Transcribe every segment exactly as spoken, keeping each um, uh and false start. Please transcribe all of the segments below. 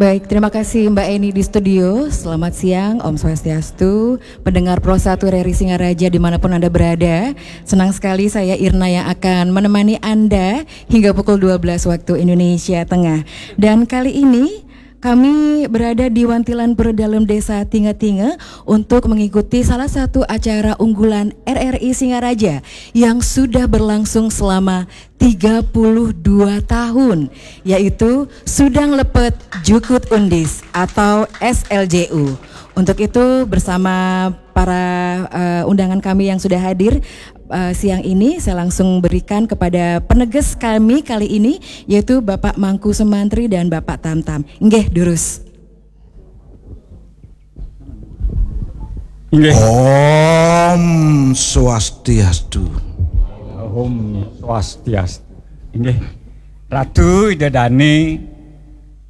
Baik, terima kasih Mbak Eni di studio. Selamat siang, Om Swastiastu. Pendengar Pro satu R R I Singaraja dimanapun Anda berada. Senang sekali saya Irna yang akan menemani Anda hingga pukul dua belas waktu Indonesia Tengah. Dan kali ini kami berada di Wantilan Pura Dalem Desa Tinge-Tinge untuk mengikuti salah satu acara unggulan R R I Singaraja yang sudah berlangsung selama tiga puluh dua tahun, yaitu Sudang Lepet Jukut Undis atau S L J U. Untuk itu, bersama para eh, undangan kami yang sudah hadir eh, siang ini, saya langsung berikan kepada peneges kami kali ini, yaitu Bapak Mangku Sumantri dan Bapak Tamtam. Nggih, durus. Nggih. Om Swastiastu. Om Swastiastu. Inggih. Ratu Ida Dane,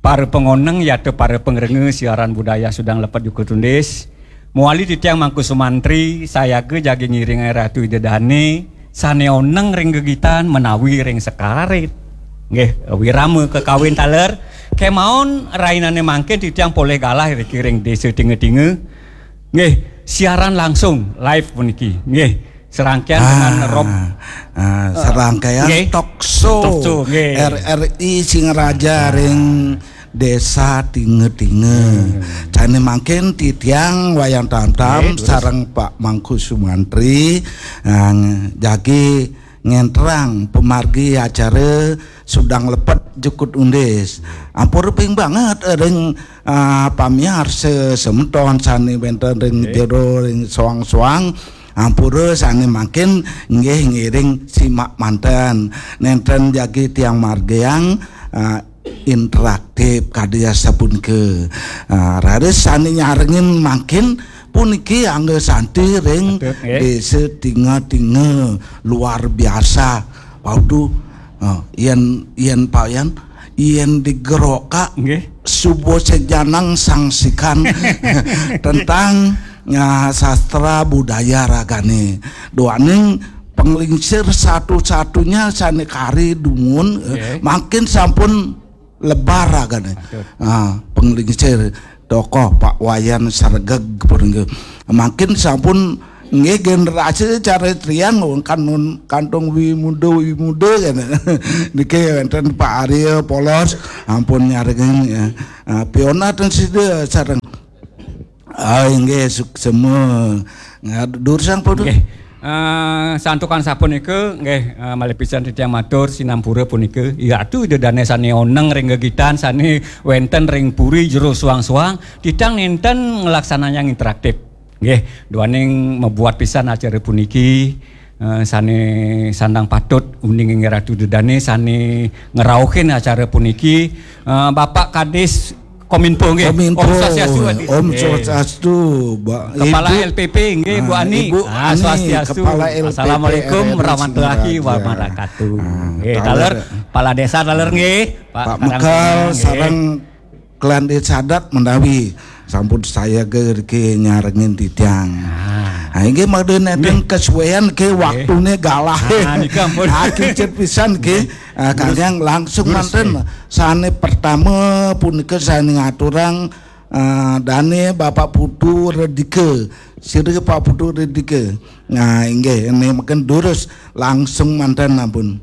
para pengoneng yata para pengrenge siaran budaya Sudang Lepet Jukut Undis. Muali titiang Mangku Sumantri, sayaga jagi ngiring Ratu Ida Dane, sane oneng ring gegitan menawi ring sekarit. Nggih, wirama kekawin taler. Kemaon rainane mangkin titiang polih galah riki ring Desa Tinga-Tinga. Nggih, siaran langsung live puniki. Nggih, serangkaian dengan Rob Ah, serangkaian nggih. Talk Show Talk Show, nggih. R R I Singaraja ring Desa Tinga-Tinga. Jane mangkin titiang Wayan Tamtam Nggih, terus. Sareng Pak Mangku Sumantri ah, jagi ngentrang pemargi acara Sudang Lepet Jukut Undis. Ampura ping banget ring ah, pamiarsa semeton sane wenten ring jero ring soang-soang. Ampura sane mangkin nggih ngiring simak manten. Nenten jagi tiang margiang ah, interaktif kadi asapunika. Ah, raris sane nyarengin mangkin puniki angga santi ring Betul, nggih. Desa Tinga-Tinga luar biasa. Waduh, ah, yen yen Pak Yan, yen digerokak Nggih. subo sejanang sangsikan tentang ya, sastra budaya ragane. Duaning penglingsir satu-satunya sane kari dumun eh, Nggih. mangkin sampun lebar ragane. Betul. Ah, penglingsir tokoh Pak Wayan Sregeg punika. Mangkin sampun nggih generasi caritrian kantun kantung wimuda wimuda kan. Niki wenten Pak Arya Polos ampun nyarengin ya. Ah, Piona ten sida sareng. Ah, inggih suksema. Durusang pun. Nggih. Eh, santukan sapunika nggih eh, malih pisan titiang matur sinampura punika Ratu Ida Dane sane oneng ring gegitan sane wenten ring puri jero suang-suang titiang nenten nglaksanayang interaktif. Nggih, duaning mabuat pisan acara puniki eh, sane sandang patut uning Ratu Ida Dane sane ngrauhin acara puniki eh, Bapak Kadis Kominfo nggih. Kominfo. Om Swastiastu, Kadis. Om Nggih. Swastiastu, Mbak Kepala Ibu. L P P nggih Bu Ah, Ani. Ibu Ah, Ani, Swastiastu. Kepala L P P Assalamualaikum R R I warahmatullahi Singaraja. Wabarakatuh. Ah, Nggih, taler. Taler Kepala Desa Taler nggih, Pak Pak Karang Mekal nggih. Sareng Kelan Desa Adat menawi sampun saya gerke nyarengin titiang. Ah, inggih mangda nenten kesuwen ke waktune galah. Ah, nika ampun. Ah, kicet pisan ke. Ah, kangge langsung Durus, manten. Sane pertama punika sane ngaturang ah, dane Bapak Putu Redika. Sira Pak Putu Redika. Nah, inggih ini mungkin durus langsung manten ampun.